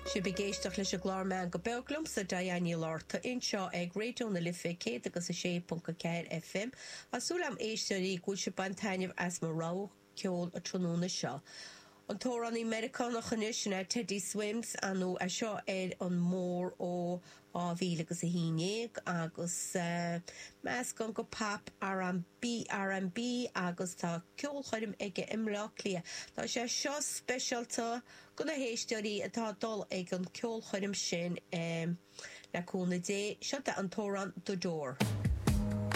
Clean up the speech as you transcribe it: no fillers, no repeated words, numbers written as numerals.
Sibh ag éisteacht leis an gclár Meangadh Beag liomsa, Diane Ní Fhlatharta, anseo ag Raidió na Life 106.4 FM. Tá súil agam éisteoirí go bhfuil sibh ag baint taitneamh as mo rogha ceoil an tráthnóna seo. An t-amhránaí Meiriceánach anois sin é Teddy Swims, ar ndóigh é seo ar an mór ó 2000 agus 11 agus meascán de pop, R&B, R&B agus tá ceolchoirm aige i mBleá Cliath. Tá sé seo speisialta do na héisteoirí atá ag dul ag an ceolchoirm sin le cúnamh Dé. Seo é an t-amhrán The Door.